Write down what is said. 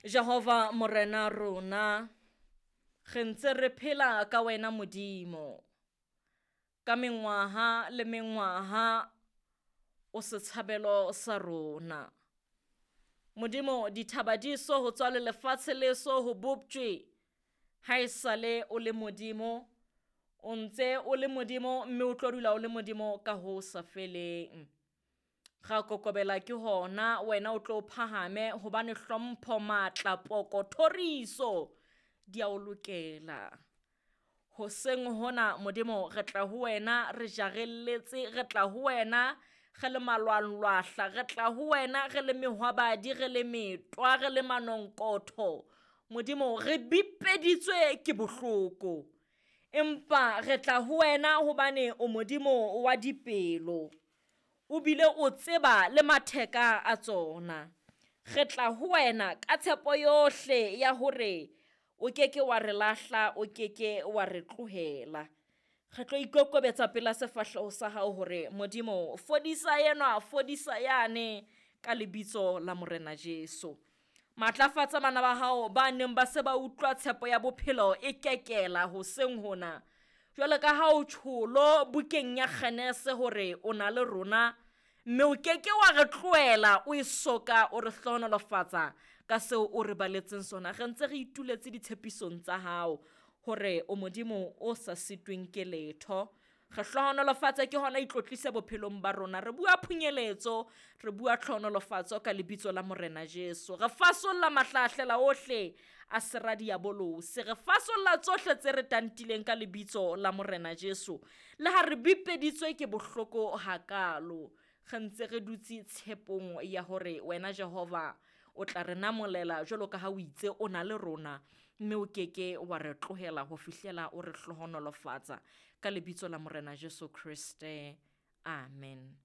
Jehova Morena rona, re ntse re phela ka wena Modimo. Ka mengwaha le mengwaha o setshabelo sa rona. Modimo, dithaba di so ho tswa le lefatshe le so ho boptjwe, ha esale o le Modimo, o ntse o le Modimo mme o tlo dula o le Modimo ka ho sa feleng. Ra kokobela ke hona, wena o tlo phahame hobane hlompho, matla, poko, thoriso di a o lokela. Hoseng hona Modimo re tla ho wena re jarelletse, re tla ho wena re le malwanglwahla, re tla ho wena re le mehwabadi, re le metwa, re le manonkotho. Modimo re bipeditswe ke bohloko, empa re tla ho wena hobane o Modimo wa dipelo, o bile o tseba le matheka a tsona. Re tla ho wena ka tshepo yohle ya hore o keke wa re lahla, o keke wa re tlohela. Re tlo ikokobetsa pela sefahleho sa hao hore Modimo fodisa enwa, fodisa yane ka lebitso la Morena Jesu. Matlafatsa bana ba hao ba neng ba se ba utlwa tshepo ya bophelo e kekela hoseng hona. Jwale ka ha o tjholo bukeng ya Genese hore o na le rona, mme o keke wa re tlohela o e soka o re hlohonolofatsa ka seo o re baletseng sona. Re ntse re ituletse ditshepisong tsa hao hore o Modimo o sa sitweng ke letho. Re hlohonolofatse ke hona itlotlise bophelong ba rona. Re bua phunyeletso, re bua tlhohonolofatso ka lebitso la Morena Jesu. Re fasolla mahlahlela ohle a sera diabolose. Re fasolla tsohle tse re tantileng ka lebitso la Morena Jesu. Le ha re bipeditswe ke bohloko hakalo, re ntse re dutse tshepong ya hore wena Jehova o tla re namolela jwalo ka ha o itse o na le rona, mme o keke wa re tlohela ho fihlela o re hlohonolofatsa ka lebitso la Morena Jesu Kriste. Amen.